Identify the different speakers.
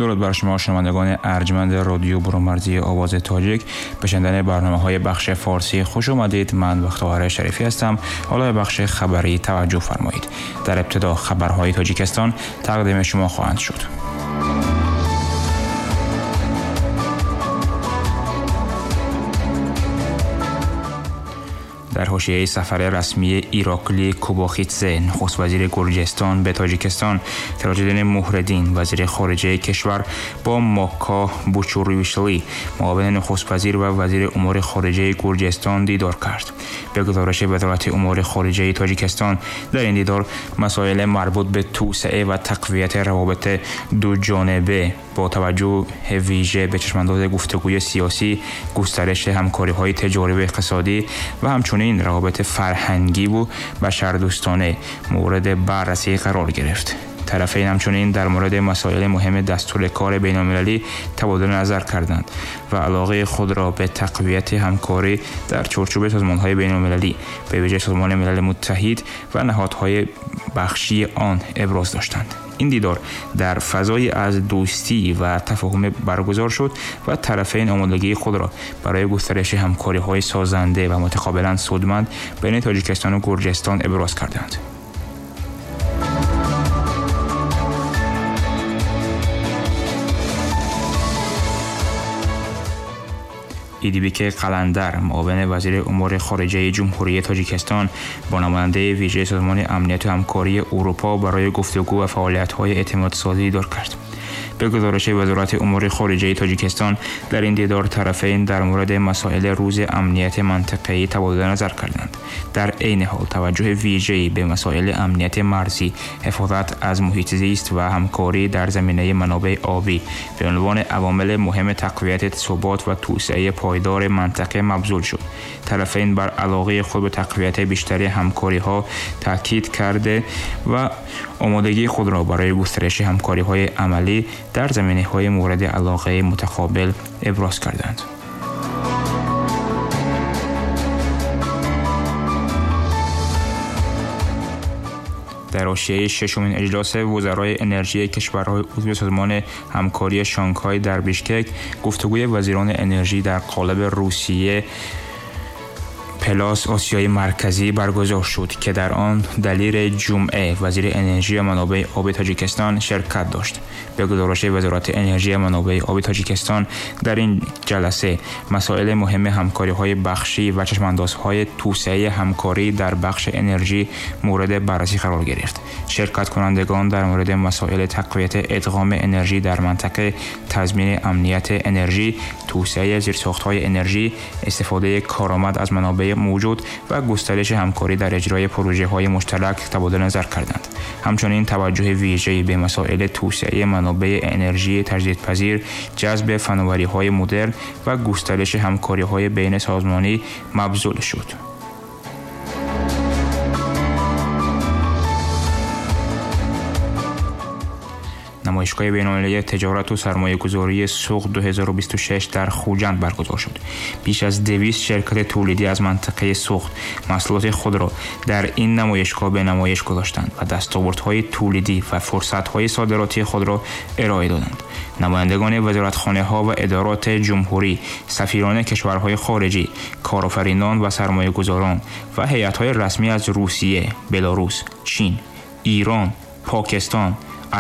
Speaker 1: Дуруд бар шумо шунавандагони арҷманди радио Бурунмарзии Овози Тоҷик. Ба шунидани барномаҳои бахши форсӣ хуш омадед. Ман Бахтовар Шарифӣ ҳастам. Ҳоло ба бахши хабарӣ таваҷҷӯҳ фармоед. Дар ибтидо хабарҳои Тоҷикистон тақдими шумо хоҳанд шуд. Дар ҳошияи сафари расмии Ираклий Кобахидзе, нахуствазири Гурҷистон ба Тоҷикистон, Сироҷиддин Муҳриддин, вазири хориҷаи кишвар бо Мака Бочоришвили, муовини нахуствазир ва вазири умури хориҷаи Гурҷистон дидор кард. Ба гузориши Вазорати умури хориҷаи Тоҷикистон, дар ин дидор масоили марбут ба توسعه و تقویت روابط دوجانبه با توجه ویژه به چشم‌انداز گفتگوی سیاسی، گسترش همکاری‌های تجاری و اقتصادی و همچنین روابط فرهنگی و بشردوستانه مورد بررسی قرار گرفت. طرفین همچنین در مورد مسائل مهم دستور کار بین‌المللی تبادل نظر کردند و علاقه خود را به تقویت همکاری در چارچوب سازمان‌های بین‌المللی، به ویژه سازمان ملل متحد و نهادهای بخشی آن ابراز داشتند. این دیدار در فضای از دوستی و تفاهم برگزار شد و طرفین آمادگی خود را برای گسترش همکاری‌های سازنده و متقابلاً سودمند بین تاجیکستان و گرجستان ابراز کردند. ایدیبیک قلندر، معاون وزیر امور خارجه جمهوری تاجیکستان، با نماینده ویژه سازمان امنیت و همکاری اروپا برای گفتگو و فعالیت‌های اعتمادسازی دیدار کرد. به گزارش وزارت امور خارجه تاجیکستان، در این دیدار طرفین در مورد مسائل روز امنیت منطقه‌ای تبادل نظر کردند. در عین حال توجه ویژه‌ای به مسائل امنیت مرزی، حفاظت از محیط زیست و همکاری در زمینه منابع آبی به عنوان عوامل مهم تقویت ثبات و توسعه پایدار منطقه مبذول شد. طرفین بر علاقه خود به تقویت بیشتر همکاری‌ها تاکید کرده و آمادگی خود را برای گسترش همکاری‌های عملی در زمینه‌های مورد علاقه متقابل ابراز کردند. در حاشیه ششمین اجلاس وزرای انرژی کشورهای عضو سازمان همکاری شانگهای در بیشکک، گفتگوی وزیران انرژی در قالب روسیه پلاس آسیای مرکزی برگزار شد که در آن دلیر جمعه وزیر انرژی و منابع آب تاجیکستان شرکت داشت. به گزارش وزارت انرژی و منابع آب تاجیکستان، در این جلسه مسائل مهم همکاری‌های بخشی و چشم‌اندازهای توسعه همکاری در بخش انرژی مورد بررسی قرار گرفت. شرکت کنندگان در مورد مسائل تقویت ادغام انرژی در منطقه، تضمین امنیت انرژی، توسعه زیرساخت‌های انرژی، استفاده کارآمد از منابع موجود و گسترش همکاری در اجرای پروژه‌های مشترک تبادل نظر کردند. همچنین توجه ویژه‌ای به مسائل توسعه منابع انرژی تجدیدپذیر، جذب فناوری‌های مدرن و گسترش همکاری‌های بین سازمانی مبذول شد. نمایشگاه بین‌المللی تجارت و سرمایه‌گذاری سوق 2026 در خوجند برگزار شد. بیش از 200 شرکت تولیدی از منطقه سوق محصولات خود را در این نمایشگاه به نمایش گذاشتند و دستاوردهای تولیدی و فرصت‌های صادراتی خود را ارائه دادند. نمایندگان وزارتخانه‌ها و ادارات جمهوری، سفیران کشورهای خارجی، کارآفرینان و سرمایه‌گذاران و هیئت‌های رسمی از روسیه، بلاروس، چین، ایران، پاکستان،